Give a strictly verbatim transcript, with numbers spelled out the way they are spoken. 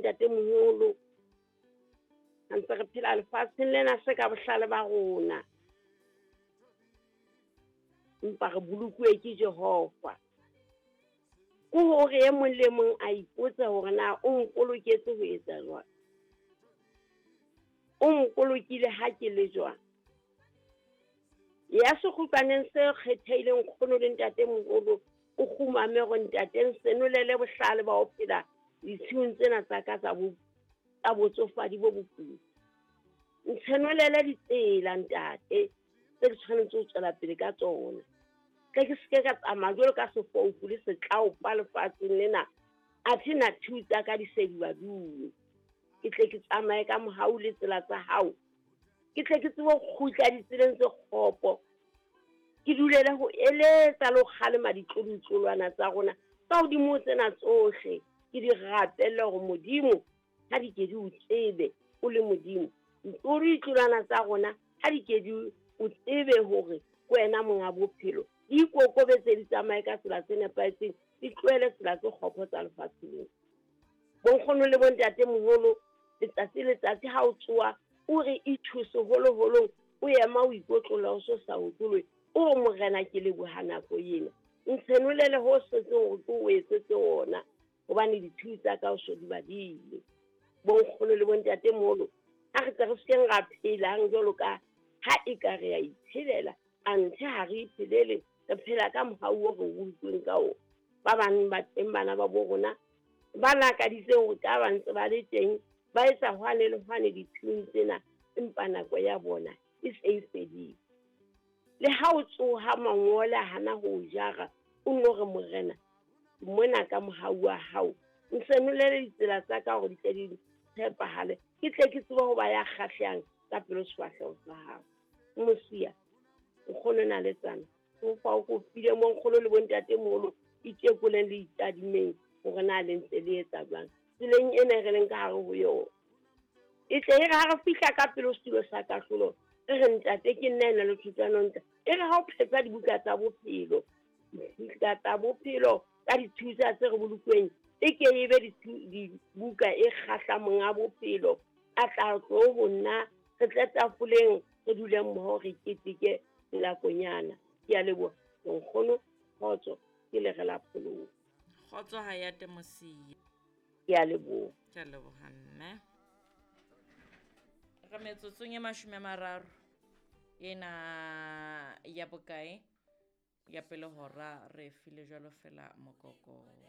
bontatemoholo, ha ntse re phela lefatsheng lena se ka bohlale ba rona, empa re bolokuwe ke Jehova. Ke hore e mong le mong a ipotse hore na o mpoloketse ho etsa jwang, o mpolokile ha ke le jwang. Ya sekgutlwaneng se kgethehileng nkgono le ntatemoholo, o kgumame hore ntate nsenolele bohlale ba ho phela ditshiung tsena tsa ka tsa bo, tsa botsofadi bo boputswa. Ntshenolele ditsela ntate tse ke tshwanetse ho tswela pele ka tsona. Tle ke seke ka tsamaya jwalo ka sefofu le setlaopa lefatsheng lena, athe na thiu tsa ka di se di baduwe. Ke tle ke tsamaye ka mohau le tsela tsa hao, ke tle ke tsebe ho kgutla ditseleng tse kgopo, ke dulele ho eletsa le ho kgalema ditlolotlolwana tsa rona ka hodimo ho tsena tsohle. Ke di rapelle hore Modimo ha di ke di o tsebe o le Modimo, ditlolotlolwana tsa rona ha di ke di o tsebe hore ke wena monga bophelo, di ikokobetse, di tsamaye ka tsela tse nepahetseng, di tlohele tsela tse kgopo tsa lefatshe lena. Bonkgono le bontatemoholo, letsatsi le letsatsi ha o tsoha o re ithuse holoholong, o ema o ikotlolla o so sa otlolohe, o re Morena ke leboha nako ena, ntshenolele ho setseng hore ke o etsetse ona, hobane dithuo tsa ka o so di badile. Bonkgono le bontatemoholo, ha re tle re sekeng ra phelang jwalo ka ha e ka re a iphelela, anthe ha re iphelele, re phela ka mohau o re utlweng ka ona. Ba bang ba teng bana ba bo rona ba lakaditseng hore ka ba ntse ba le teng, ba etsa hwane le hwane dithuong tsena, empa nako ya bona e se e fedile. Le ha o tsoha mangole a hana ho o jara, o nno re Morena mona ka mohau wa hao nsenolele ditsela tsa ka hore di tle di tshepahale, ke tle ke tsebe ho ba ya kgahlehang ka pelo sefahleho sa hao. Mosia, nkgono na le tsana, o fa o kopile mo nkgono le bontatemoholo, itekoleng le itadimeng hore na le ntse le etsa jwang tseleng ena re leng ka hare ho yona. E tle e re ha re fihla ka pele setulo sa kahlolo, re re ntate ke nna ena le thutwana ntle, e re ha o phetsa dibuka tsa bophelo, dibuka tsa bophelo ka dithusa tse re bolokweng, e ke e be dibuka e kgahla monga bophelo, a tla tlo ho nna, re tle tafoleng, re dule mmoho, re keteke nakonyana. Ke a leboha nkgono, kgotso, ke le re la pholoho. Kgotso ha ya Temosia. Ke a leboha. Ke a leboha mme. Re metsotsong e mashome a mararo ena ya bokae ya pele hora re file jwalo fela mokoko.